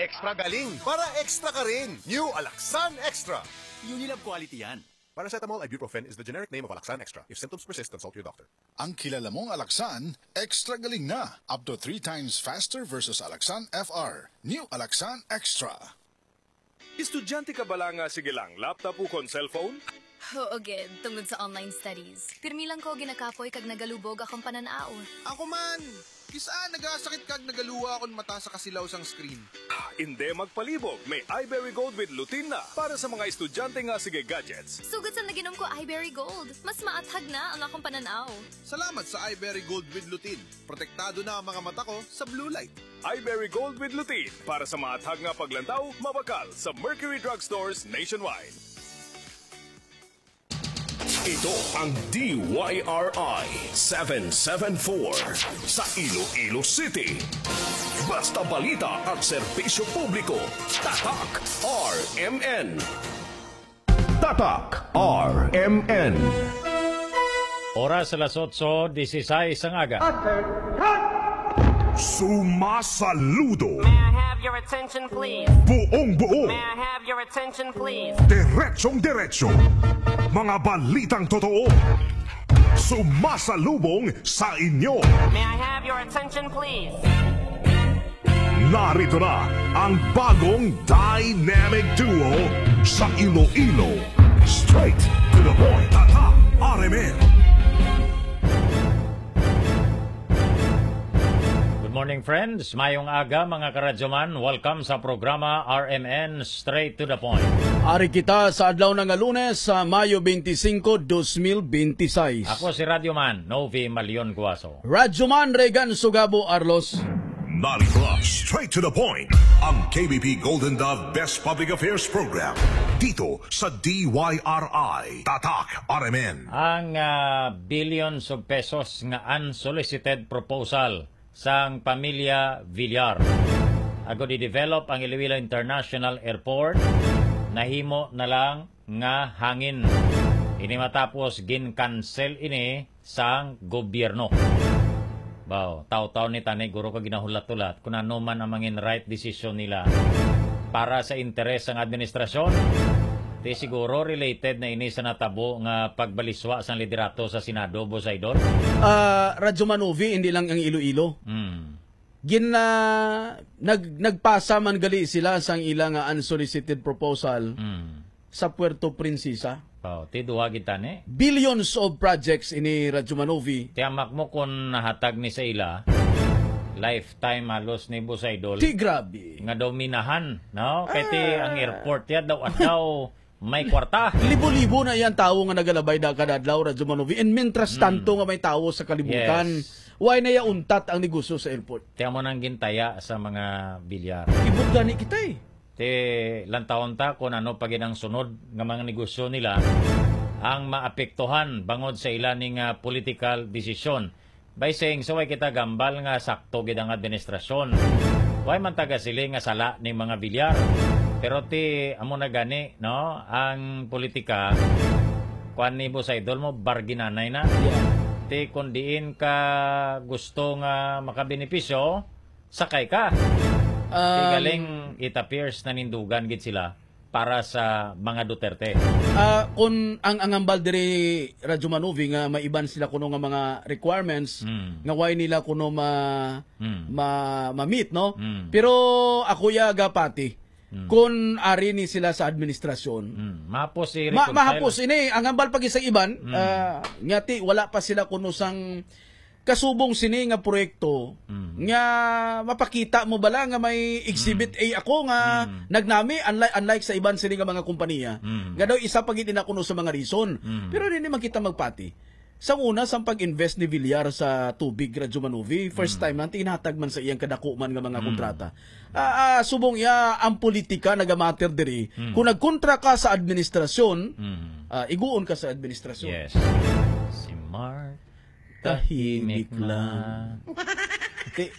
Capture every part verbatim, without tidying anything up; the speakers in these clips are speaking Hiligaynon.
Extra galing para extra ka rin. New Alaxan Extra. Unilab quality yan. Paracetamol ibuprofen is the generic name of Alaxan Extra. If symptoms persist, consult your doctor. Ang kilala mong Alaxan, extra galing na. Up to three times faster versus Alaxan F R. New Alaxan Extra. Estudyante ka bala nga sige lang laptop ukon cellphone? Oo, gid, tungod sa online studies. Pirmi lang ko ginakapoy kag nagalubog akong panan-aw. Ako man! Kis-a nagasakit kag nagaluwa akon mata sa kasilaw sang screen. Indi magpalibog, may iBerry Gold with Lutein na para sa mga estudyante nga sige gadgets. Sugod sa naginom ko iBerry Gold, mas maathag na ang akong panan-aw. Salamat sa iBerry Gold with Lutein. Protektado na ang mga mata ko sa blue light. Iberry Gold with Lutein para sa maathag nga paglantaw, mabakal sa Mercury Drugstores nationwide. Ito ang D Y R I seven seven four sa Iloilo City. Basta balita at serbisyo publiko, Tatak R M N. Tatak R M N. Oras alas otso dieciséis ang aga. Sumasaludo. May I have your attention, please? Buong buo. May I have your attention, please? Diretsong diretso. Mga balitang totoo. Sumasalubong sa inyo. May I have your attention, please? Narito na ang bagong dynamic duo sa Iloilo. Straight to the point, Tatak R M N. Good morning, friends. Mayong aga, mga karadyoman. Welcome sa programa R M N Straight to the Point. Ari kita sa adlaw na nga Lunes, sa Mayo twenty-five, twenty twenty-six. Ako si Radyo Man Novi Malion Guaso. Radyo Man Regan Sugabo Arlos. Narito na, Straight to the Point, ang K B P Golden Dove Best Public Affairs Program, dito sa D Y R I, Tatak R M N. Ang, ah, billions of pesos nga unsolicited proposal sang pamilya Villar agud i-develop ang Iloilo International Airport nahimo na lang nga hangin. Ini matapos gin-cancel ini sang gobyerno. Baw, taw-taw ni tani guro ka ginahulat-hulat kung ano man ang mangin right decision nila para sa interes sang administrasyon. Di siguro related na ini sa natabo nga pagbaliswa sang liderato sa Senado, Boss Idol? Ah, Radyo Manovi, hindi lang ang Iloilo. Hmm. Gin-, ah, nag-, nagpasa man gali sila sang ila nga unsolicited proposal Hmm. sa Puerto Princesa. Oh, ti duha gid tani. Billions of projects ini, Radyo Manovi. Tiyamak mo kung nahatag ni sa ila, lifetime halos ni Boss Idol. Ti grabe. Nga daw minahan, no? Kay ti Ah. ang airport ya daw adlaw may kwarta. Libo-libo na iyang tawo nga nagalabay da kada adlaw, Radyo Manovi. And mintras Hmm. tanto nga may tawo sa kalibutan, Yes. why na iya untat ang negosyo sa airport? Tiyan mo nang gintaya sa mga bilyar. Ibot gani kita eh. Ti lantawon ta kung ano pa gid ang sunod nga mga negosyo nila ang maapektuhan bangod sa ila ning, ah, political decision. By saying so, way kita gambal nga sakto gid ang administrasyon. Way man taga sili nga sala ning mga bilyar. Pero ti amo na gani, no, ang politika, kuan ni Boss Idol mo, barginanay na. Yeah. Ti kung diin ka gusto nga makabenepisyo, sakay ka. Ti Um, galing, it appears nanindugan gid sila para sa mga Duterte. Ah, kung ang, ang hambal diri, Radyo Manovi, nga may iban sila kuno nga mga requirements Mm. nga way nila kuno ma-, Mm. ma-, ma-meet, no? Mm. Pero ako ya gapati, Mm. kung ari ni sila sa administrasyon, Mm. Mahapos si ma-, reconcile. mahapos ini. Ang hambal pa gid sa iban, Mm. ah, nga ti wala pa sila kuno sang kasubong sini nga proyekto Mm. nga mapakita mo bala nga may exhibit Mm. A ako nga Mm. nagnami, unlike, unlike sa iban sini nga mga kompanya, Mm. nga daw isa pa gid ina kuno sa mga reason. Mm. Pero dili man kita magpati. Sa una, sa pag-invest ni Villar sa tubig, Radyo Manovi, first Mm. time man, tinatag man sa iyang kadako man nga mga Mm. kontrata. Ah, ah, subong iya, ang politika nagamatter diri. Mm. Kung nagkontra ka sa administrasyon, Mm. ah, iguon ka sa administrasyon. Yes. Si Mark. Tahimik lang. Ti-,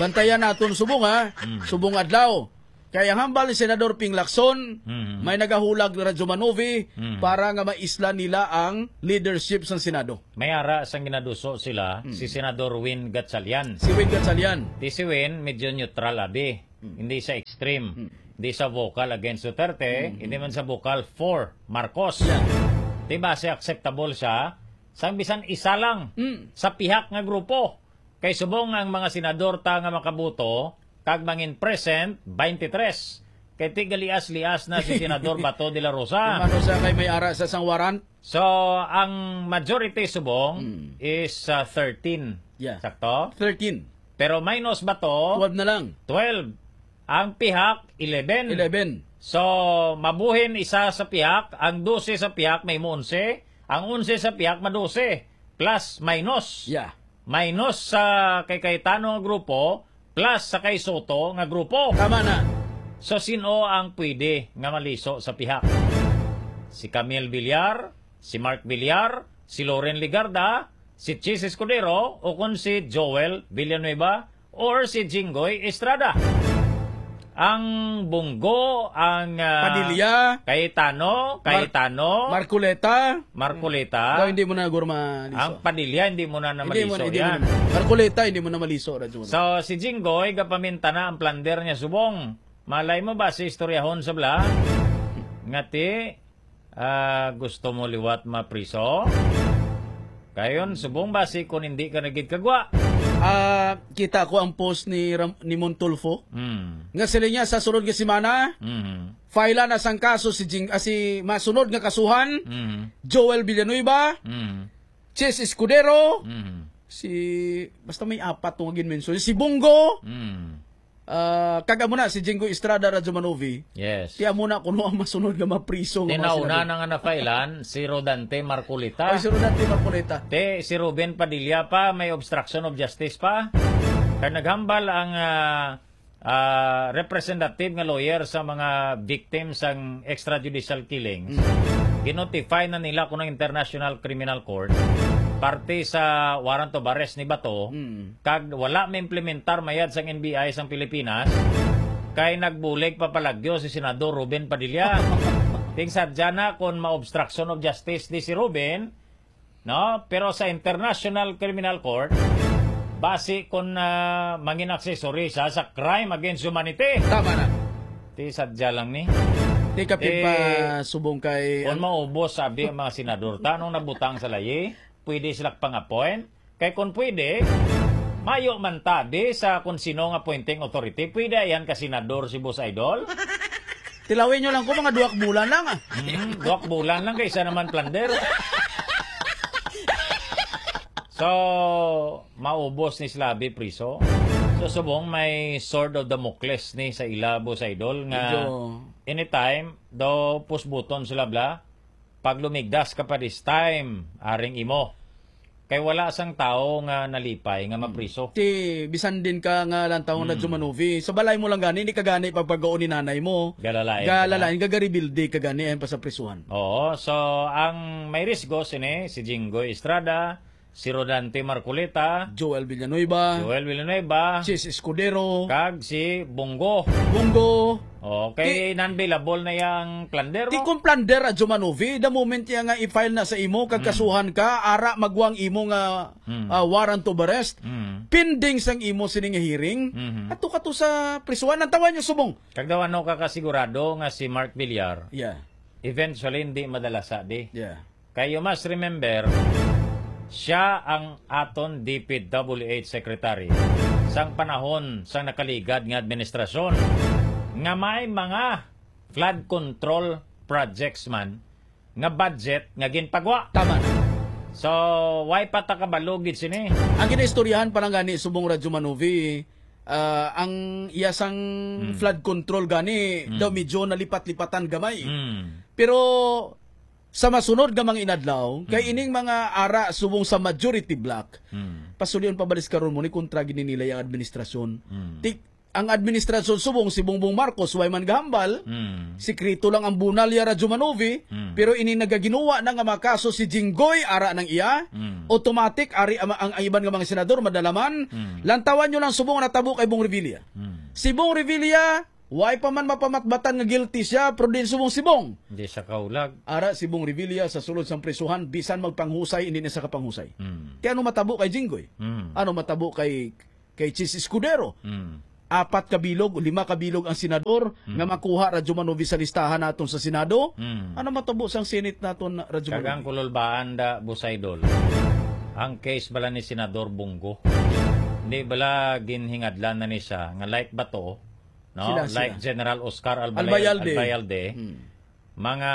bantayan naton subong, ha? Mm. Subong adlaw. Kay ang hambal ni Senador Ping Lacson, Mm. may nagahulag ni Radyo Manovi Mm. para nga maisla nila ang leadership sa Senado. May ara sang ginaduso sila, Mm. si Senador Win Gatchalian. Si Win Gatchalian. Di si Win, medyo neutral, abi. Mm. Hindi sa extreme. Mm. Hindi sa vocal against Duterte, Mm. hindi man sa vocal for Marcos. Yeah. Di ba, si acceptable siya? Sang bisan isa lang Mm. sa pihak nga grupo. Kay subong ang mga senador ta nga makaboto, kag mangin present, twenty-three. Kay tigalias-lias na si Senador Bato de la Rosa. Kung ano siya kay may ara sa sang warrant? So, ang majority subong Mm. is, ah, thirteen. Yeah. Sakto? Thirteen. Pero minus Bato, Twelve na lang. twelve. Ang pihak, eleven. Eleven. So, mabuhin isa sa pihak, ang dose sa pihak may mo onse, ang onse sa pihak ma dose, plus minus. Yeah. Minus sa kay Cayetano nga grupo, plus sa kay Soto nga grupo. Tama na. So, sino ang pwede nga maliso sa pihak? Si Camille Villar, si Mark Villar, si Loren Legarda, si Chiz Escudero, o kon si Joel Villanueva, or si Jinggoy Estrada? Ang Bunggo, ang, ah, Padilla. Cayetano, Mar-, Cayetano, Marcoleta. Marcoleta. Daw hindi mo na guro maliso. Ang Padilla, hindi mo na Hindi mo, namaliso hindi mo yan. na. Marcoleta, hindi mo na maliso, Radyo Manong. So, si Jinggoy, gapaminta na ang plunder niya subong. Malay mo ba si istoryahon sa bla? Ngati, ah, gusto mo liwat mapriso? Kayon, subong ba si kung hindi ka nagid kagwa? Ah, kita ko ang post ni Ram-, ni Montulfo. Mm. Nga sila niya sa sunod nga semana, Mm. file na sang kaso si Jing-, ah, si masunod nga kasuhan, Mm. Joel Villanueva, Mm. Chiz Escudero, Mm. si, basta may apat tong ginmension, si Bunggo, Mm. ah, kag amo na si Jinggoy Estrada, Radyo Manovi. Yes. Ti amo na kuno ang masunod nga mapriso nga mga Tinauna senador. na nga nafailan, si Rodante Marcoleta. Oy, si Rodante Marcoleta. Te, si Ruben Padilla pa, may obstruction of justice pa. Kay naghambal ang, ah, ah, representative nga lawyer sa mga victims sang extrajudicial killings. Mm. Ginotify na nila kuno ang International Criminal Court parte sa warrant of arrest ni Bato. Mm. Kag wala maimplementar mayad sang N B I sang Pilipinas, kay nagbulig pa palagyo si Senador Ruben Padilla. Ting sadya na kon ma-obstruction of justice di si Ruben, no? Pero sa International Criminal Court, basi kon, ah, mangin accessory siya sa crime against humanity. Tama na. Ti sadya lang ni. Ti kapin Eh, pa subong kay Kung maubos, sabi ang mga senador, tanong nabutang sa layi, pwede sila pang-appoint. Kay kung pwede, mayo man tabi sa kung sino nga appointing authority. Pwede yan ka senador si Boss Idol? Tilawin nyo lang ko, mga duwak bulan lang, ah. Hmm, duwak bulan lang, kaysa naman plunder. So, maubos ni Slabi priso. So, subong may sword of Damocles ni sa ila, Boss Idol, nga Medyo anytime, daw pusbuton sila bla, pag lumigdas ka pa this time, aring imo. Kay wala sang tawo nga nalipay nga Hmm. mapriso. Ti, bisan din ka nga lantaw nga Hmm. Radyo Manovi, sa balay mo lang gani, hindi ka gani pagpagaon ni nanay mo. Galalain ka na. Galalain ka, garibilde ka gani, ayan pa sa prisuhan. Oo, so ang may risgo sini, si Jinggoy Estrada, si Rodante Marcoleta, Joel Villanueva, Joel Villanueva, Chiz Escudero, kag si Bunggo. Bunggo. Oh, kay Ti-, non-bailable na yang plunder, ti mo? Kung plunder, Radyo Manovi, the moment ya nga i-file na sa imo, kag Mm. kasuhan ka, ara magwang imo nga, Mm. ah, warrant of arrest, Mm. pending sang imo sining hearing, Mhm. ato ka to sa prisuhan. Ang tawa niyo subong. Kag daw ano ka kasigurado nga si Mark Villar, Yeah. eventually hindi madala sa di. Yeah. Kay you must remember, siya ang aton D P W H secretary sang panahon sang nakaligad nga administrasyon nga may mga flood control projects man nga budget nga ginpagwa. Tama na. So, why pa ta kabalo gid sini? Ang ginaistoryahan pa lang gani subong Radyo Manovi, ah, ang iya sang Hmm. flood control gani Hmm. daw medyo nalipat-lipatan gamay. Hmm. Pero sa masunod nga mga inadlaw, kay Hmm. ining mga ara subong sa majority bloc, Hmm. pasulion pa balis karon mo ni kontra gid ni nila ang administrasyon. Hmm. Ti-, ang administrasyon subong si Bongbong Marcos, way man gahambal, Hmm. sikreto lang ang bunal ya Radyo Manovi, Hmm. pero ini nagaginuwa na nga makaso si Jinggoy, ara nang iya, Hmm. automatic, ari ang, ang, ang iban nga mga senador, madalaman. Hmm. Lantawan nyo lang subong natabo kay Bong Revilla. Hmm. Si Bong Revilla, way pa man mapamatbatan nga guilty siya, pero din subong si Bong. Hindi siya kaulag. Ara si Bong Revilla sa sulod sang prisuhan, bisan magpanghusay, hindi na sa kapanghusay. Hmm. Kaya ano matabo kay Jinggoy? Hmm. Ano matabo kay kay Chiz Escudero. Mm. apat ka bilog, lima ka bilog ang senador Mm. nga makuha, Radyo Manovi, sa listahan naton sa Senado. Mm. Ano matabo sang Senate naton, Radyo Kag ang Manovi? Kululbaan da, Boss Idol, ang case bala ni Senador Bong Go. Hindi bala ginhingadlan na ni siya nga like Bato, no? Sila, Like sila. General Oscar Albayal-, Albayalde. Albayalde, Mm. mga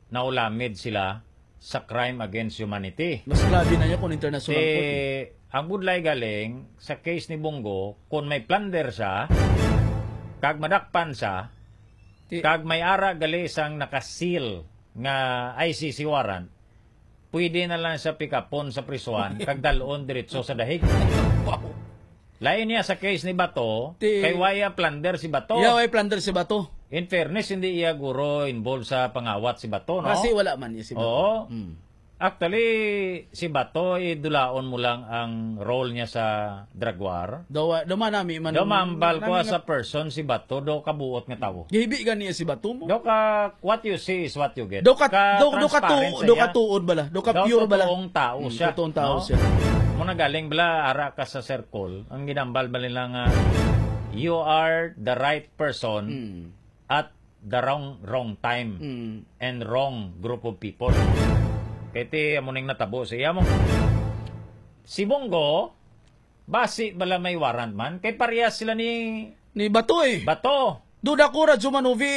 naulamid sila sa crime against humanity. Mas grabe na niya kung international Ti, court, eh. Ang budlay galing sa case ni Bong Go, kung may plunder siya, kag madakpan siya, Ti- kag may ara gali sang nakasil nga I C C warrant, pwede na lang siya pikapon sa prisuhan, kag dalon diretso sa dahig. Wow. Lain niya sa case ni Bato, Ti- kay way plunder si Bato. Yeah, way plunder si Bato. In fairness, hindi iya guro involved sa pangawat si Bato, no? Kasi wala man niya si Bato. Oo. Hmm. Actually, si Bato, idulaon mo lang ang role niya sa drug war. Daw, daw man nami man Daw mambal ko nami as nga a person si Bato, daw kabuot nga tawo. Gihibi gani si Bato mo? Daw ka, what you see is what you get. Daw ka, Ka daw, daw ka transparent tuo-, sa daw ka iya. tuod bala, daw ka Daw pure bala. totoong tao Hmm, siya, totoong tao no? siya. Muna galing bala, ara ka sa circle, ang ginambal ba nila nga, "You are the right person Hmm. at the wrong, wrong time Hmm. and wrong group of people." Kay ti, amo ning natabo sa iya mo. Si Bong Go, basi bala may warrant man, kay parehas sila ni Ni Bato, eh. Bato. Duda ko, Radyo Manovi,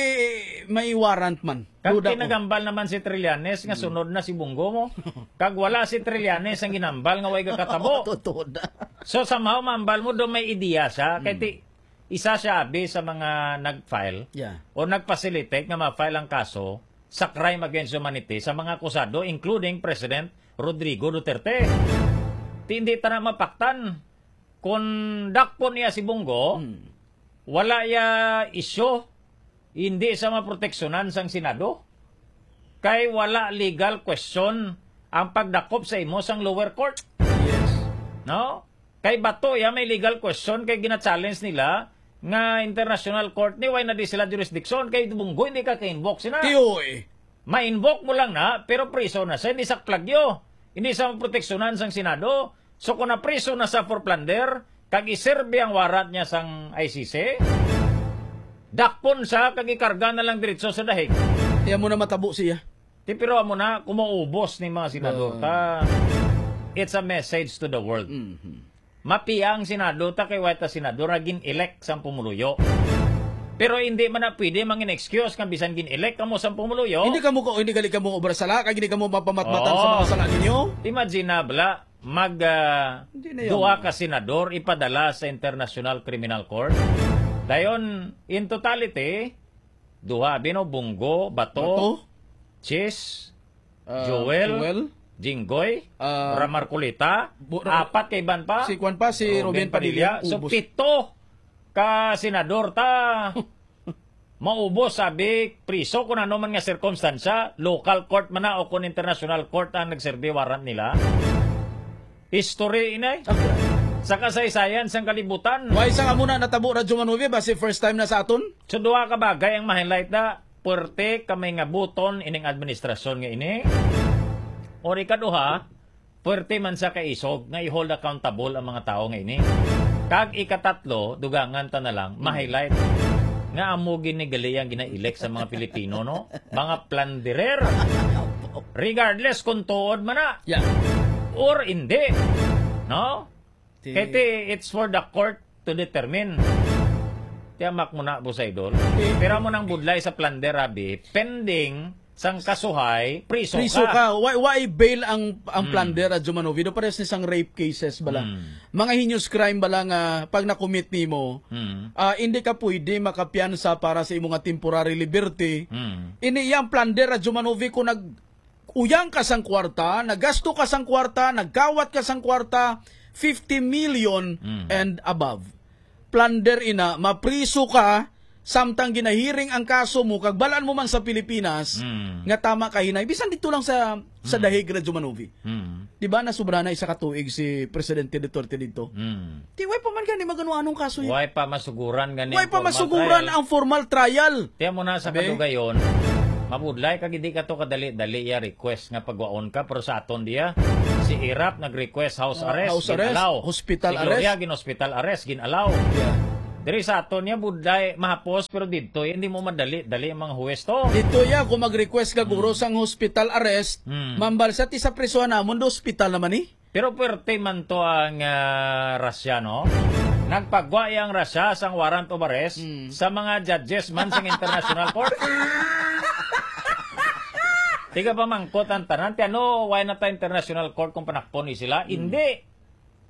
may warrant man. Kag Duda ko. kinagambal naman si Trillanes nga Hmm. sunod na si Bong Go mo. Kag wala si Trillanes ang ginambal nga way gakatabo. Totoo na. So, somehow, mambal mo, do may ideya siya. Kay Hmm. ti, isa siya, abi, sa mga nag-file Yeah. o nag-facilitate nga ma-file ang kaso sa crime against humanity sa mga akusado, including President Rodrigo Duterte. Ti, hindi ta na mapaktan. Kung dakpon niya si Bong Go, Hmm. wala ya isyu, hindi sa maproteksyonan sang Senado. Kay wala legal question ang pagdakop sa imo sang lower court. Yes. No? Kay Bato ya may legal question kay gina-challenge nila nga international court ni, why na di sila jurisdiction kay Bong Go hindi ka ka-invoke sina. Tiyoy. Ma-invoke mo lang na, pero priso na siya, hindi sa plagyo, hindi sa proteksyonan sang Senado. So, kung napriso na sa for plunder, kag iserbi ang warrant niya sang I C C, dakpon siya, kag ikarga na lang diretso sa dahig. Iya mo na matabo siya. Ti, pero amo na, kung maubos ni mga senador Ah. ta, it's a message to the world. Mhm. Mapiya ang Senado ta kay wala ta senador nga gin-elect sang pumuluyo. Pero hindi man na pwede mangin excuse nga bisan gin-elect kamo sang pumuluyo. Hindi kamo ko, hindi gali kamo obra sala, kag hindi kamo mapamatmatan sa Oo. mga sala ninyo. Imagine na, bala, mag, ah, Hindi na yan. duha ka senador ipadala sa International Criminal Court. Dayon, in totality, duha, bino, Bong Go, Bato, Bato? Chis, Ah, Joel, Joel? Jinggoy, Ah, Ram Marcoleta, Bu-, Ra-, apat kay ban pa. Si Kwan pa, si Robin Robin Padilla, Padilla, so ubos. pito ka senador ta. Maubos, sabi, priso kung ano man nga sirkumstansya, local court man na o kung international court ang nagserbi warrant nila. History, inay. Okay. Sa kasaysayan sang kalibutan. Why sa amo na natabo, Radyo Manuvi? Basi first time na sa aton? So, duha ka bagay ang ma-highlight na, puwerte ka may ngabuton ining administrasyon nga ini. Or ikaduha, puwerte man sa kaisog nga i-hold accountable ang mga tawo nga ini. Kag ikatatlo, dugangan ta na lang, Hmm. ma-highlight nga amo gini gali ang gina-elect sa mga Pilipino, no? Mga plunderer. Regardless kung tuod man na Yeah. or hindi. No? Ti- Kay ti, it's for the court to determine. Tiyamak mo na, Boss Idol. Ti- Pero mo nang budlay sa plunder, abi, pending sang kasuhay, priso Priso ka. ka. Why, why bail ang, ang Hmm. plunder, Radyo Manovi? Do pares ni sang rape cases bala. Hmm. Mga heinous crime bala nga pag na-commit nimo, Hmm. ah, hindi ka pwede makapiyansa para sa imo nga temporary liberty. Hmm. Ini yang plunder, Radyo Manovi, kung nag-uyang ka sang kwarta, nagasto ka sang kwarta, nagkawat ka sang kwarta, fifty million Mm. and above. Plunder ina, mapriso ka, samtang ginahiring ang kaso mo, kag balaan mo man sa Pilipinas, Mm. nga tama ka hinay. Bisan dito lang sa, sa Mm. Dahig, Radyo Manovi. Mm. Di ba, nasubra na isa ka tuig si Presidente Duterte dito? Mm. Ti, way pa man gani magano-anong kaso yun. Way pa masuguran gani Way ang pa formal masuguran trial. ang formal trial. Tiyan mo na sa Abi? kadugayon, mabudlay kag hindi ka to kadali-dali iya request nga pagwaon ka, pero sa aton diya, si Erap nag-request house Ah, arrest, house arrest, gin-allow. hospital Si Gloria, arrest. gin-hospital arrest, gin-allow. Yeah. Diri sa aton niya, buday, mahapos, pero didto, hindi mo madali-dali ang mga huwes to. Dito ya, kung mag-request ka guro Mm. sang hospital arrest, Mm. mambal sa ti sa prisuhan namon, do hospital naman ni. Pero puwerte man to ang, ah, Russia, no? Nagpagwa ang Russia sang warrant of arrest Mm. sa mga judges man sang international court. Tiga pamangkot ang tanan, ti ano, why na ta international court kung panakpon ni sila? Mm. Hindi.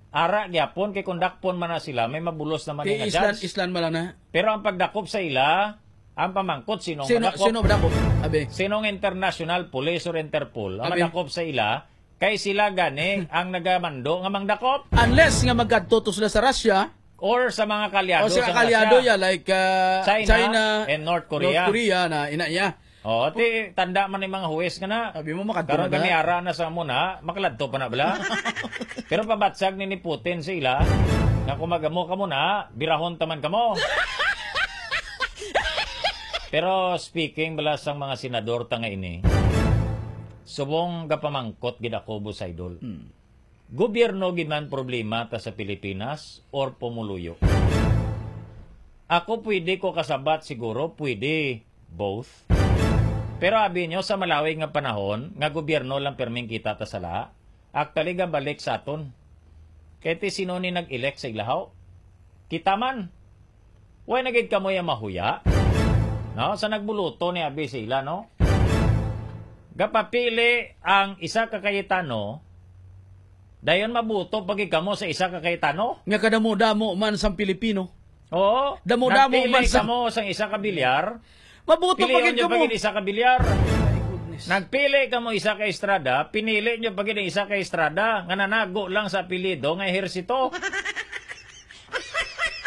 Ara gyapon, kay kung dakpon man na sila, may mabulos naman Kay nga Island, judge. Island man lang na. Pero ang pagdakop sa ila, ang pamangkot, sino ang Sino, madakop? Sino madakop? Abi. Sinong international police or Interpol ang Abi. madakop sa ila? Kay sila gani ang nagamando nga mangdakop. Unless nga magkadto to sila sa Russia. Or sa mga kalyado O sa sa kalyado, Russia. yeah, like, uh, China China, and North Korea. North Korea na ina iya. Oo, ti, tanda man ni mga huwes nga na. Abi mo, makadto Karon na kami na. ara na sa amo na, makaladto pa na bala. Pero pabatsag ni, ni Putin sa ila, nga kung mag-amo ka mo na, birahon taman ka mo. Pero speaking bala sang mga senador ta nga ini, subong gapamangkot gid ako, Boss Idol. Hmm. Gobyerno gid man problema ta sa Pilipinas or pumuluyo? Ako pwede ko kasabat siguro, pwede both. Pero abi nyo, sa malawig nga panahon, nga gobyerno lang perming kita ta sala, actually, gabalik sa aton. Kay ti sino ni nag-elect sa ilahaw? Kita man. Way na gid kamo ya mahuya. No? Sa nagbuluto ni abi sa ila, no? Gapapili ang isa ka Cayetano, dayon mabuto pa gid kamo sa isa ka Cayetano. Nga kadamo-damo man sang Pilipino. Oo. Damo-damo Nagpili man sa kamo sang isa ka bilyar. Mabuto pa Pilion gid nyo pa kamo. gid isa ka bilyar. My goodness. Nagpili kamo isa ka Estrada, pinili nyo pa gid ang isa ka Estrada nga nanago lang sa apelyido nga Ejercito.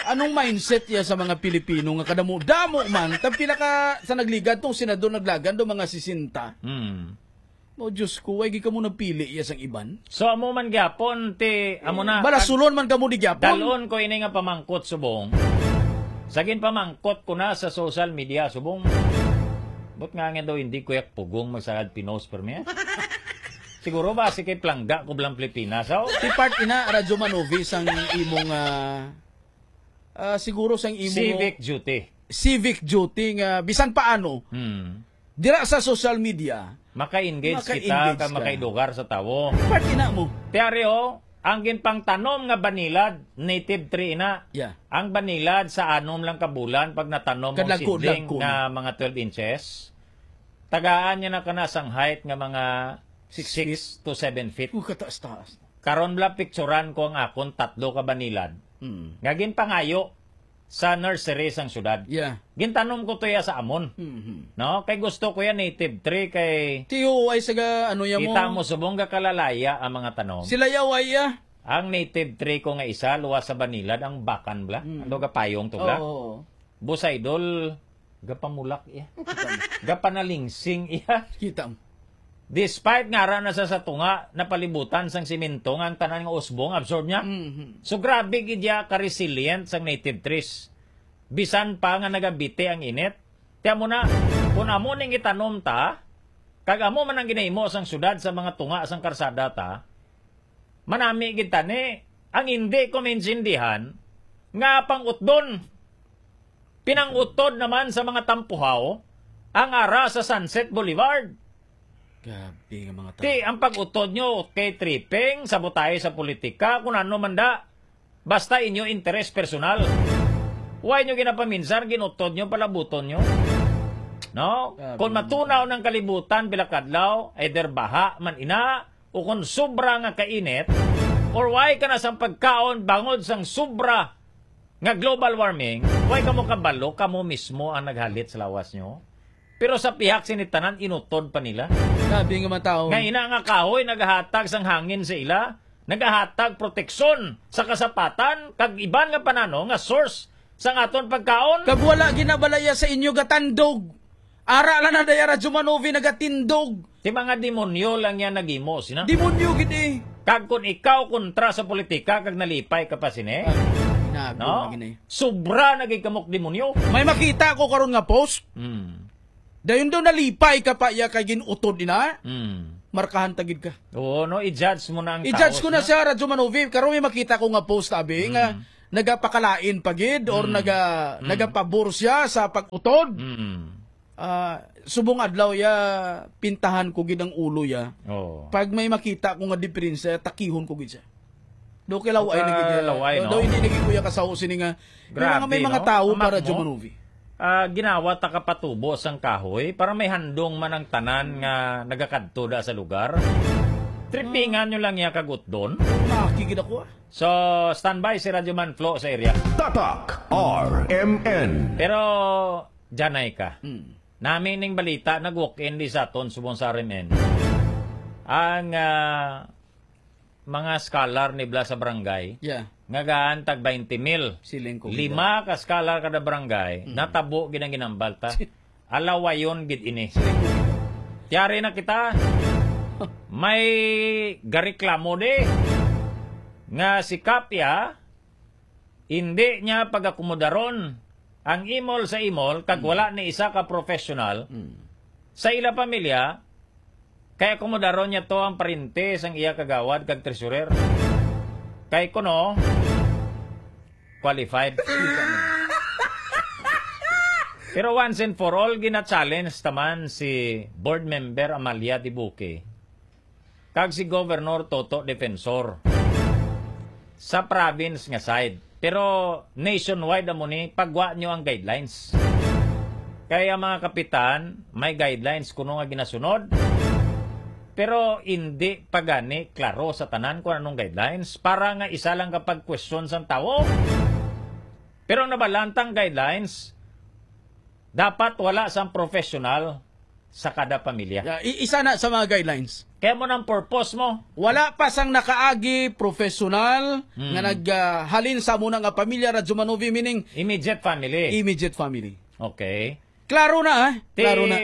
Anong mindset ya sa mga Pilipino nga kadamo-damo man, tag pila ka sa nagligad tong senador naglagan do mga sesenta? Hmm. Oh, Diyos ko, way gid kamo napili ya sang iban? So, amo man gyapon, ti, amo na, Balasulon man kamo di gyapon. Dalon ko ini nga pamangkot subong. Sa ginpamangkot ko na sa social media subong. But nga nga daw hindi ko yak pugong magsagad pinos per mi. Siguro ba si kay plangga ko blang Pilipinas, oh? Ti part ina, Radyo Manovi, sang imong, ah, ah, siguro sang imong Civic duty. civic duty nga bisan paano, Hmm. dira sa social media, Maka-engage kita maka-engage kag ka. makaidugar sa tawo. Part ina mo. Ti ari, oh, ang ginpangtanom nga banilad, native tree ina. Yeah. Ang banilad sa anom lang ka bulan pag natanom mo Kadlagko, seedling dlagko nga na. mga twelve inches, tagaan niya na kana sang height nga mga Six six feet. to seven feet. Uh, kataas-taas. Karon bala, picturan ko ang akon tatlo ka banilad Mm. nga ginpangayo sa nursery sang syudad. Yeah. Gintanom ko to ya sa amon. Mhm. No? Kay gusto ko ya native tree kay Tiyo, ay, saga, ano ya mo? Kita mo, subong ga kalalaya ang mga tanom. Sila ya, way ya. Ang native tree ko nga isa, luwas sa banilad, ang bakan bala. Mm. Ano ga payong to bala? Oo. Boss Idol, gapamulak iya. Kita mo. Gapanalingsing iya. Kita mo. Despite nga ara na sa, sa tunga, napalibutan sang semento nga ang tanan nga usbong absorb niya. Mhm. So, grabe gid ya ka-resilient sang native trees. Bisan pa nga nagabiti ang init. Ti amo na, kung amo ning itanom ta, kag amo man ang ginahimo sang syudad sa mga tunga sang karsada ta, manami gid tani ang hindi ko maintindihan nga pang-utdon. Pinang-utod naman sa mga tampuhaw ang ara sa Sunset Boulevard. Grabe nga mga tao. Ti, ang pag-utod nyo kay tripping, sabotahe sa politika, kung ano man da. Basta inyo interes personal. Why nyo ginapaminsan, ginutod nyo, palabuton nyo? No? Grabe Kung nga mga matunaw tao. ng kalibutan, bilakadlaw, either baha man ina, o kung sobra nga kainit, or why ka na sang pagkaon bangod sang sobra nga global warming, why kamo kabalo, kamo mismo ang naghalit sa lawas nyo? Pero sa pihak sini tanan, inutod pa nila. Grabe nga mga tao. Nga ina nga kahoy nagahatag sang hangin sa ila, nagahatag proteksyon sa kasapatan, kag iban nga panano nga source sang aton pagkaon. Kag wala ginabalaya sa inyo gatandog. Ara lang na daya Radyo Manovi nagatindog. Ti mga demonyo lang yan naghimo, sina? Demonyo gid eh. Kag kung ikaw kontra sa politika, kag nalipay ka pa sini, Ah, inago no? na gini. Sobra na gid kamok demonyo. May makita ko karon nga post. Hmm. Dayon daw nalipay ka pa iya kay ginutod ina. Hmm. Markahan ta gid ka. Oo, no, i-judge mo na ang I-judge taos ko na na. siya, Radyo Manovi, karon may makita ko nga post, abi, nga Hmm. nagapakalain pa gid or Mm. naga-, Mm. nagapabor siya sa pag-utod. Mm. Ah, subong adlaw ya, pintahan ko gid ang ulo ya. Oo. Pag may makita ko nga diferensya, takihon ko gid siya. Do kay laway na gid Ah, niya. Laway, Do, no? do hindi na gid kuya kasaw sini nga, may Grabe, mga, may mga no? tawo Amak para mo. Jomanovi. Ah, ginawa ta kapatubo sang kahoy para may handong man ang tanan nga nagakadto da sa lugar. Tripingan nyo lang iya kag utdon. Nakigid ako, ah. So, standby si Radyo Man Flo sa area. Tatak R M N. Pero, janay ka. Hmm. Nami ning balita, nag-walk-in di sa aton subong sa R M N. Ang, ah, mga scholar ni Bla sa barangay, Yeah. nga gaan tag twenty mil. Siling ko, Lima ka scholar kada barangay, Mm. natabo gid ang ginambal ta. Alawayon gid ini. Siling ko, Tiyari na kita. May gareklamo di nga si Kapya, hindi niya pag-akomodaron ang imol sa imol kag Mm. wala ni isa ka professional Mm. sa ila pamilya, kay akomodaron niya to ang parente sang iya kagawad kag treasurer. Kay kuno, qualified. Pero once and for all, gina-challenge taman si Board Member Amalia Dibuque kag si Governor Toto Defensor sa province nga side. Pero nationwide amo ni, pagwa nyo ang guidelines. Kay ang mga kapitan, may guidelines kuno nga ginasunod, pero hindi pa gani klaro sa tanan kung anong guidelines para nga isa lang ka pag-question sang tawo. Pero ang nabalantang guidelines, dapat wala sang professional sa kada pamilya. Yeah, i-, isa na sa mga guidelines. Kaya mo nang purpose mo. Wala pa sang nakaagi professional Hmm. nga nag, ah, halin sa muna nga pamilya, Radyo Manovi, meaning Immediate family. Immediate family. Okay. Klaro na, ah. Ti, Klaro na.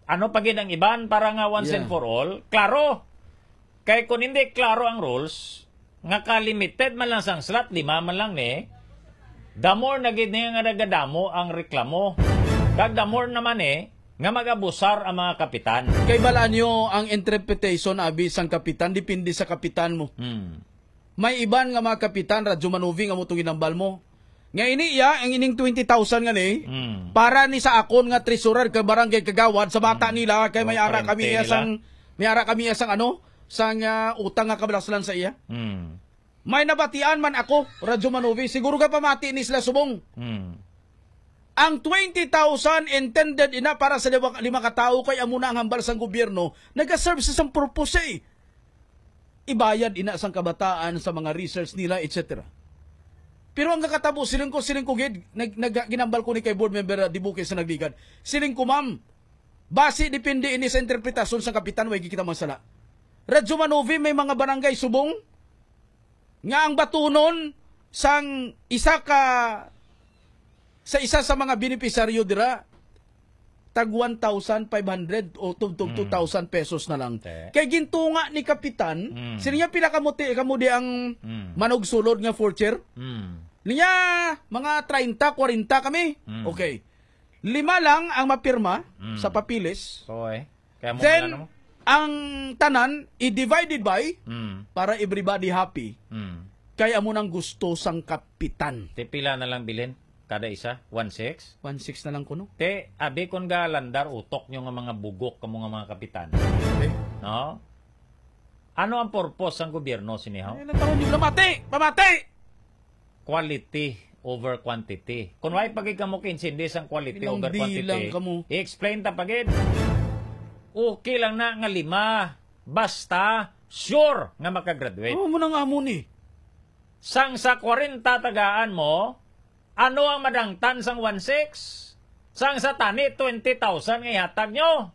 Ano pa gid ang iban para nga once Yeah. and for all? Klaro. Kay kung hindi klaro ang rules, nga ka-limited man lang sang slot, lima man lang ni, the more na gid niya nga nagadamo ang reklamo. Kag the more naman ni, nga mag-abusar ang mga kapitan. Kay balaan nyo ang interpretation, abi, sang kapitan, depende sa kapitan mo. Hmm. May iban nga mga kapitan, Radyo Manovi, nga mo itong ginambal mo. Nga ini iya, ang ining twenty thousand nga ni, Mm. para ni sa akon nga treasurer kag barangay kagawad sa bata Mm. nila, kay may Oh, ara kami parente iya nila. sang, may ara kami iya sang ano, sang, ah, utang nga kabalaslan sa iya. Mm. May nabatian man ako, Radyo Manovi, siguro ka pamati ni sila subong. Mm. Ang twenty thousand intended ina para sa lima, lima ka tawo kay amo na ang hambal sang gobyerno, nagaserve sa isang purpose eh. Ibayad ina sang kabataan sa mga research nila, et cetera. Pero ang kakatabo, siling ko, siling ko gid, nag, nag, ginambal ko ni kay board member, ah, Dibuque sa nagligad. Siling ko, ma'am, basi depende ini sa interpretasyon sang kapitan, way kita mansala. Radyo Manovi, may mga barangay subong nga ang batunon sang isa ka, sa isa sa mga benepisaryo dira, tag one thousand five hundred o tubtob Mm. two thousand pesos na lang. Te. Kay gintunga ni Kapitan, Mm. sino niya pila kamo ti-, kamo di ang Mm. manugsulod nga fourth year? Mm. Niya, mga treinta, kwarenta kami. Mm. Okay. Lima lang ang mapirma Mm. sa papilis. Oy. Kaya mo Then, kilala mo? ang tanan, i-divided by Mm. para everybody happy. Mm. Kay amo nang gusto sang Kapitan. Te, pila na lang bilhin? Kada isa? One six? One six na lang kuno. Te, abi kon galandar utok nyo nga mga bugok kamo nga mga kapitan. Eh? No? Ano ang purpose sang gobyerno sini, haw? Ay, natawa nyo. Pamati! Pamati! Quality over quantity. Kung why pag kamo kinsindi sang quality Ilang over quantity, bilang kamo. I-explain ta pagid. Okay lang na nga lima. Basta, sure nga makagraduate. Oo, mo nang amo ni. Sang sa kwarenta tagaan mo, ano ang madangtan sang one six? Sang sa tani, twenty thousand nga ihatag nyo.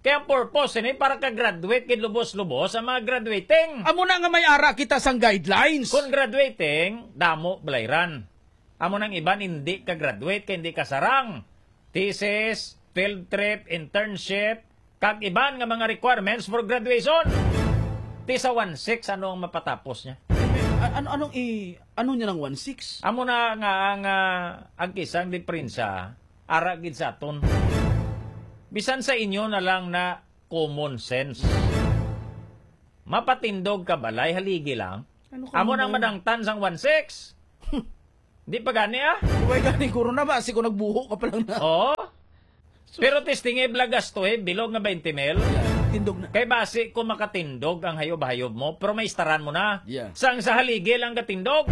Kaya ang purpose ini para ka-graduate gid lubos-lubos ang mga graduating. Amo na nga may ara kita sang guidelines. Kung graduating, damo balayran. Amo nang iban hindi ka-graduate kay hindi ka sarang. Thesis, field trip, internship, kag iban nga mga requirements for graduation. Ti sa one six, ano ang mapatapos niya? A-, ano, anong i-, ano niya ng one six? Amo na nga ang, ah, ang kisang diperensya, ara gid sa aton. Bisan sa inyo na lang na common sense. Mapatindog ka balay, haligi lang. Ano ka Amo nang naman? Madangtan sang one six. Di pa gani, ah. Way gani, corona ba? Kasi kung nagbuho ka pa lang na. Oo. Sus. Pero testingi, bala gasto, eh, bilog nga twenty mil. Yeah, tindog na. Kay basi ko makatindog ang hayob-hayob mo, pero may istaran mo na. Yeah. Sang sa haligi lang gatindog.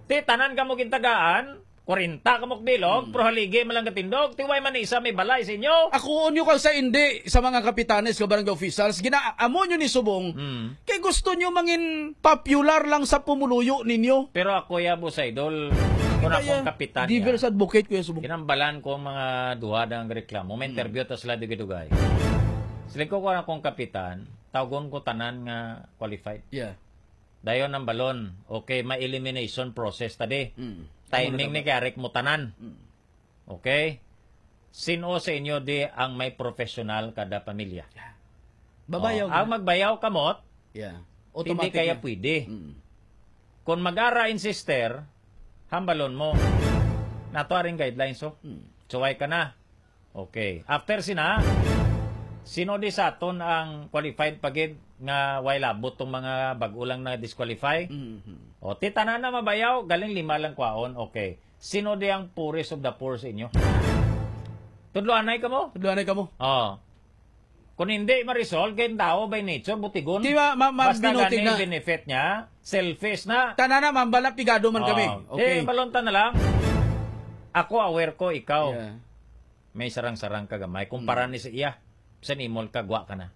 Ti, tanan ka mo gintagaan, kwarenta ka mo bilog, Mm. pero haligi man lang gatindog. Ti, way man isa may balay sa inyo. Ako, unyo kang sa indi, sa mga kapitanes, sa barangay officials, gina-, amo nyo ni subong, Mm. kay gusto nyo mangin popular lang sa pumuluyo ninyo. Pero ako, ya, boss idol, kung Kaya, akong kapitan devil's niya, advocate, Kuya Subong. Ginambalan ko ang mga duha nga reklamo. May Hmm. interview ta sila dugay-dugay. Siling ko, kung akong kapitan, tawgon ko tanan nga qualified. Yeah. Dayon ang balon. Okay, may elimination process ta di. Hmm. Timing Ano na ni ba? Garrick mo tanan. Hmm. Okay? Sino sa inyo di ang may professional kada pamilya? Babayaw Oh, ang na. Magbayaw kamot, Yeah. Hindi Automatic kaya na. Pwede. Mm. Kung mag-ara in sister, hambalon mo. Nato aring guidelines, oh. Mm. Suway ka na. Okay. After sina, sino di sa aton ang qualified pa gid nga way labot tong mga bag-o lang na disqualify? Mhm. O, ti tanan na mabayaw, galing lima lang kwaon. Okay. Sino di ang poorest of the poor sa inyo? Tudloanay ka mo? Tudloanay ka mo? Oh. Kung hindi ma-resolve, kay tao by nature, butigon. Di ba, ma-, ma-, Basta binuting gani na. Benefit niya, selfish na. Tanan na, mambala, pigado man kami. Oh. Okay. Di, balonta na lang. Ako, aware ko, ikaw. Yeah. May sarang-sarang ka gamay. Kumpara Mm. ni sa iya, sa nimol ka, gwa ka na.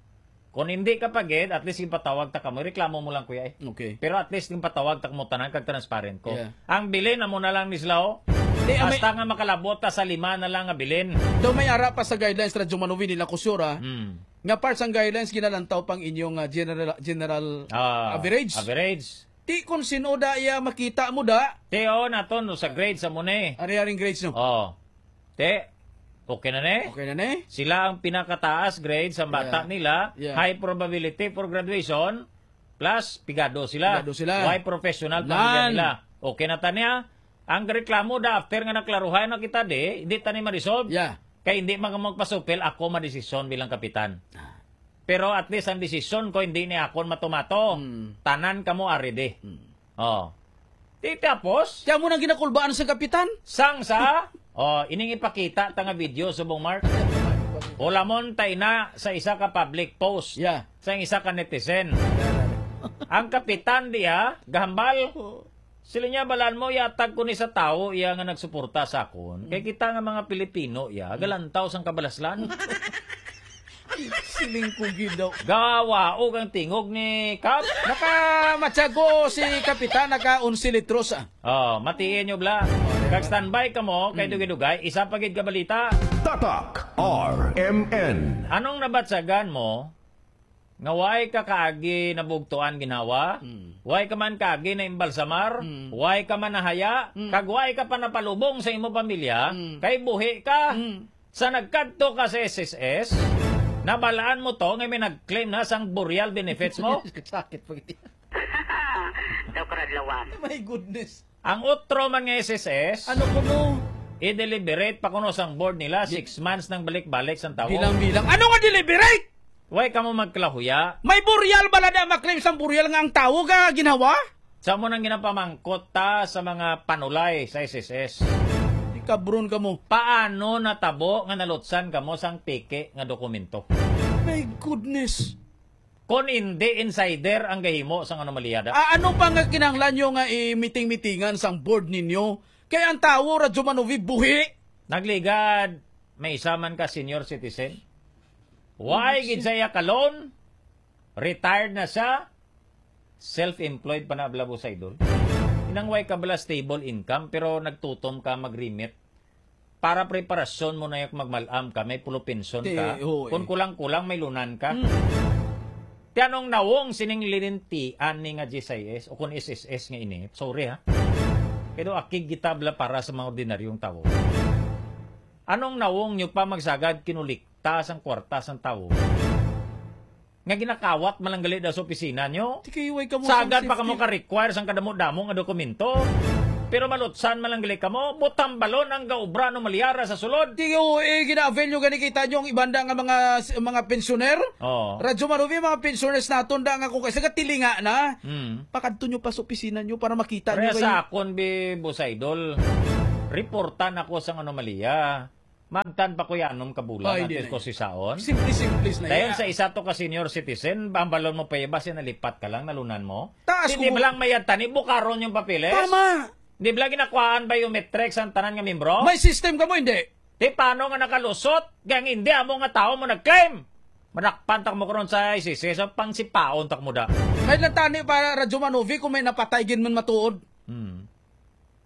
Kung hindi ka pa gid, at least ginpatawag ta kamo. Reklamo mo lang, kuya, eh. Okay. Pero at least ginpatawag ta kamo tanan kag transparent ko. Yeah. Ang bilin, amo na lang ni sila, oh. Di, amay Hasta nga makalabot ta sa lima na lang nga bilin. Daw may ara pa sa guidelines, Radyo Manovi, nila Kusura, Hmm. nga part sang guidelines, ginalantaw pang inyong, ah, general, general Ah, average. Average. Ti, kung sino da iya makita mo da. Ti, oh, naton, no, sa grade sa mo ni. Ari-aring grades, no? Oh. Ti, okay na ni? Okay na ni? Sila ang pinakataas grade sa bata Yeah. nila. Yeah. High probability for graduation. Plus, pigado sila. Pigado sila. Why professional pamilya Nan. nila? Okay na ta niya? Ang reklamo da after nga naklaruhan na kita di, hindi ta ni ma-resolve. Yeah. Kay hindi man ka magpasupil, ako madesisyon bilang kapitan. Ah. Pero at least ang desisyon ko hindi ni akon matumato. Mm. Tanan kamo aridi. Mm. Oh. Ti tapos? Kaya mo nang ginakulbaan sa kapitan? Sang sa? Oh, ining ipakita ta nga video, Subong Mark. Hulamon ta ina sa isa ka public post. Yeah. Sa isa ka netizen. Ang kapitan diya, gahambal. Oh. Sila niya, balaan mo, yatag ko ni sa tawo iya nga nagsuporta sa akon. Kay Mm. kita nga mga Pilipino, iya, Mm. galantaw sang kabalaslan. Siling ko gid daw. Gawaog ang tingog ni Kap. Nakamatyago si Kapitan, naka onse litros, ah. Oh, matiin nyo, bla. Kag standby ka mo, kay Mm. dugay-dugay, isa pa gid ka balita. Tatak R M N. Anong nabatsagan mo nga way ka kaagi nabugtuan ginhawa, Mm. way ka man kaagi naimbalsamar, Mm. way ka man nahaya, Mm. kag way ka pa napalubong sa imo pamilya, Mm. kay buhi ka. Mm. Sa nagkadto ka sa S S S, nabalaan mo to nga may nag-claim na sang burial benefits mo? Sakit pa gid. Daw karadlawan. My goodness. Ang utro man nga S S S, Ano kuno? I-deliberate pa kuno sang board nila, Di- six months nang balik-balik sang tawo. Bilang-bilang. Ano nga deliberate? Way ka mo magkalahuya. May burial bala na maklaim sang burial nga ang tawo ka ginhawa? Sa mo nang ginapamangkot ta sa mga panulay sa S S S. Di kabron ka mo. Paano natabo nga nalutsan kamo sang peke nga dokumento? My goodness. Kon indi insider ang gahimo sang anomalya da. Ah, ano pa nga kinahanglan nyo nga i-meeting-meetingan sang board ninyo? Kay ang tawo, Radyo Manovi, buhi. Nagligad, may isa man ka senior citizen. Why Bullshit. Gid sa iya ka loan? Retired na siya. Self-employed pa na, bala, boss idol. Inang way ka bala stable income, pero nagtutom ka mag-remit. Para preparasyon mo na yung magmalam ka, may pulupinson Ti-, ka. Oo, eh. Kung kulang-kulang, may lunan ka. Hmm. Ti anong nawong sining linintian ni nga G S I S o kung S S S nga ini? Sorry, ha. Pero akig kita bala para sa mga ordinaryong tawo. Anong nawong nyo pa magsagad kinulikta sang kwarta sang tawo? Nga ginakawat man lang gali daw sa opisina nyo. Ti kay way kamo Sagad sang pa kamo safety. Ka-require sang kadamo-damo nga dokumento. Pero malutsan man lang gali kamo, butang balon ang gaobra anomalya ra sa sulod. Di, o, eh, gina-avail nyo gani, kita nyo ang ibanda nga mga, mga pensioner? Oo. Radyo Marubi, mga pensioners naton da nga kung kaysa gatilinga na, Hmm. pakadto nyo pa sa opisina nyo para makita nyo Kaya kay sa akon, bi, Boss Idol, reportan ako sang anomalya. Magtan pa ko yanom ka bulan, Ay, at di least na ko yun. Sisaon. Simple-simple na Dayon yan. Sa isa to ka senior citizen, bambalon mo pa iba, siya nalipat ka lang, nalunan mo. Taas Hindi ko ba lang mayad tani, bukaron yung papeles? Tama. Di ba lang ginakuhaan biometrics ang tanan nga membro? May system ka mo, hindi? Di paano nga nakalusot? Kaya hindi amo nga tao mo nag-claim. Manakpan ta mo karon sa I C C, sa pangsipaon ta mo da. May lang tani para Radyo Manovi kung may napatay gin man matuod. Hmm.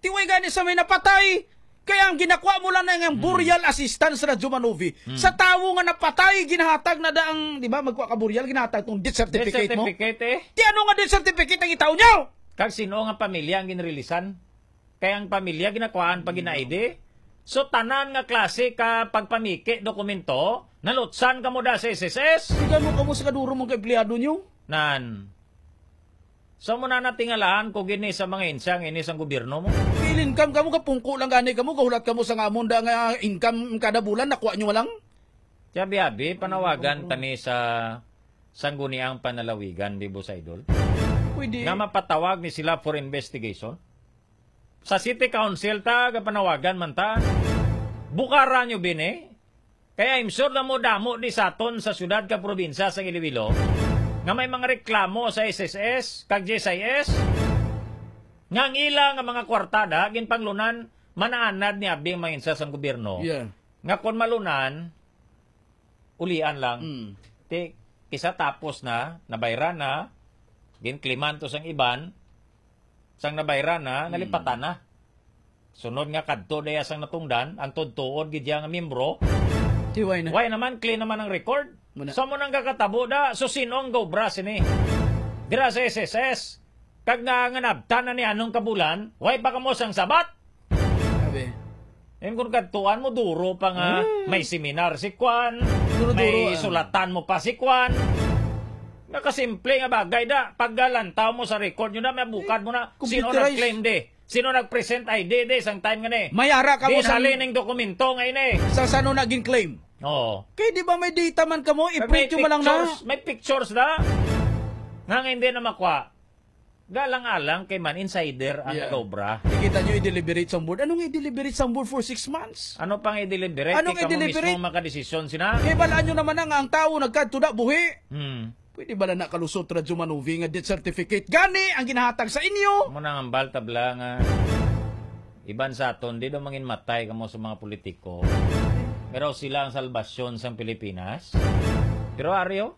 Tiway gani sa may napatay. Kaya ang ginakuha mo lang na nga Hmm. burial assistance sa Radyo Manovi. Hmm. Sa tawo nga napatay, ginahatag na da ang, di ba, magkuha ka burial, ginahatag tong death Death certificate mo. Certificate, eh. Di ano nga death certificate ang itaw nyo? Kag sino nga pamilya ang ginrilisan? Kay ang pamilya ginakuhaan pa gina-I D. So, tanan nga klase ka pagpamiki dokumento, nalutsan ka mo da sa S S S. Di gano kamo sa kaduro mong ka-empleyado nyo? Nan. So, mo na natingalaan ko gini sa mga insang ini sang gobyerno mo. Feel income kamo, kapungko lang gani kamo, gahulat kamo sa ngamon da nga income kada bulan, nakuha nyo lang? Tiyabi-abi, panawagan tani sa Sangguniang Panalawigan, di, Boss Idol? Pwede. Nga mapatawag ni sila for investigation. Sa City Council ta, gapanawagan man ta. Bukara nyo bini. Kaya I'm sure na mo damo di sa aton sa syudad ka probinsya sa Iloilo nga may mga reklamo sa S S S kag G S I S nga ang ila nga mga kwartada ginpanglunan manaanad ni abi ang mga insas sang gobyerno. Yeah. Nga kon malunan, ulian lang. Mm. Ti, kisa tapos na, nabayran na, ginkliman to sang iban, sang nabayran na, Mm. nalipatan na. Sunod nga kadto daya sang natungdan, ang tuod-tuod gid iya nga miyembro. Ti, why na? Why naman, clean naman ang record. Muna. So, mo nang kakatabo da, so sino ang gaobra sini? Dira sa S S S, kag na nga nabtan na ni anong kabulan, why pa kamo sang sabat? Sabi. Yung kung kadtuan mo, duro pa nga Mm. may seminar si Kwan, Duro-duro, may ah. sulatan mo pa si Kwan. Nakasimple nga bagay da. Paggalantaw mo sa record nyo na, may bukad mo na. Sino Computerized. nag-claim di? Sino nag-present I D di? Sang time nga ni. May ara ka mo Di sa nali ning dokumento nga ini. Sa sano naging claim? Oo. Kay di ba may data man kamo? Kag I-print may nyo man lang na. pictures, may pictures na. Nga nga hindi na makuha. Galang-alang kay man insider ang Yeah. nag-obra. Di kita nyo i-deliberate sa board. Anong i-deliberate sa board for six months? Ano pang i-deliberate? Anong Di ka mo i-deliberate? mismo makadesisyon sina. Kay balaan nyo naman na nga ang tao nagkadto na buhi. Hmm. Pwede ba na nakalusot, Radyo Manovi, nga death certificate? Gani ang ginahatag sa inyo. Mo nang ambal tabla nga iban sa aton, di daw mangin matay kamo sa mga politiko. Pero sila ang salbasyon sang Pilipinas. Pero aryo,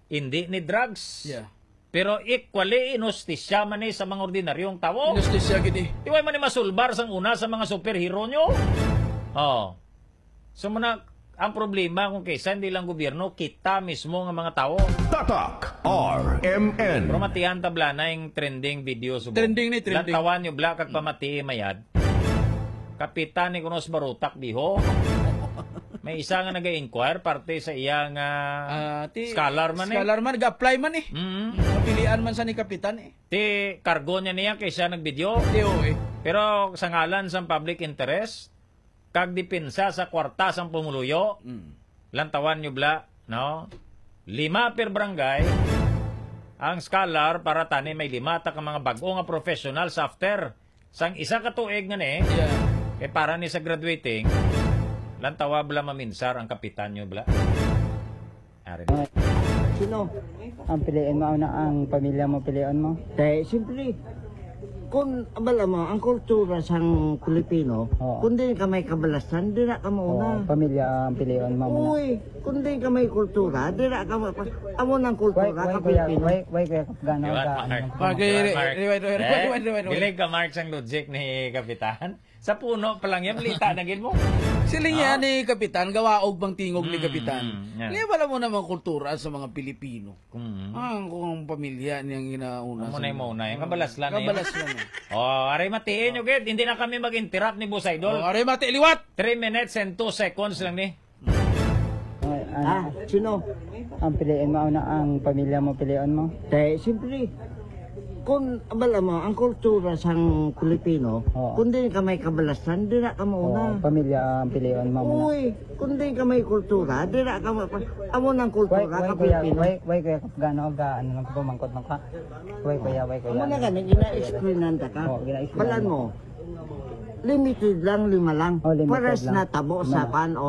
hindi ni drugs. Yeah. Pero equally, inustisya man ni sa mga ordinaryong tawo. Inustisya gid eh. Di way man ni masulbar sang una sa mga superhero nyo. Oh. So, muna, ang problema kung kaysa hindi lang gobyerno, kita mismo nga mga tawo. Tatak R M N. Pero matian tabla na yung trending video subong. Trending ni, trending. Lantawan nyo, Bla, kag pamatii mayad. Kapitan ni Kunos Barutak, diho. May isa nga nag-inquire parte sa iya nga Ah, ti-, scholar man eh. scholar man, nag-apply man eh. Mm. Napilian man sa ni kapitan eh. Ti kargo niya niya kay siya nag-video. Ti, oo eh. Pero sa ngalan sa public interest, kag depensa sa kwarta sang pumuluyo, Mm. lantawan nyo, Bla, no? Lima per barangay ang scholar para tani may lima ta ka mga bag-o nga professionals after sang isa ka tuig nga ni. Yeah. Kay para ni sa graduating, lantawa, Bla, maminsar ang kapitan nyo, Bla. Ari. Sino? Ang piliin mo, ano, ang pamilya mo, piliin mo? Te, siyempre, kung abala mo, ang kultura sang Pilipino, Oo. kung di ka may kabalasan, di na ka mauna. Oo, pamilya ang piliin mo muna. Uy, kung di ka may kultura, di na ka ma-, amo nang kultura Why, why ka kaya, Pilipino. why, why kaya ka gana Di ba, ka, Mark? ano, Pag-, Di ba, Mark? Di ba, di ba, di ba, Eh, di ba, di ba? Dilig ka, Mark, sang logic ni Kapitan. Sa puno pa lang yan, balita na gid mo. Siling Ah? yan ni Kapitan, gawaog bang tingog ni Mm, Kapitan? mm, yan. Kaya wala mo namang kultura sa mga Pilipino. Mm. Ah, kung ang pamilya niyang ginauna Amo sa na yung mga mauna, yung kabalas lang na yun. Kabalas lang yun. Oh, aray matiin, okay? Hindi na kami mag-interrupt ni Boss Idol. Oh, aray mati, liwat! Three minutes and two seconds lang ni. Ay, ano? Ah, sino? Ang piliin mo, ano, ang pamilya mo, piliin mo? Te, siyempre. Kung abala mo, ang kultura sang Pilipino, Oo. kung di ka may kabalasan, dira ka Oh, mauna. Pamilya ang pilion mo muna. Uy, kung di ka may kultura, dira ka ma... Amo nang Why, kultura why ka kuya, Pilipino. Why, why kuya, gano ga, ano lang ko, mangkot lang ka. Why kuya, why kuya. Amo na gani, gina-explainan ta ka. Oh, gina-explain. Balan mo, limited lang, lima lang. Oh, limited Pares lang. na tabo Lima sa lang. Panon.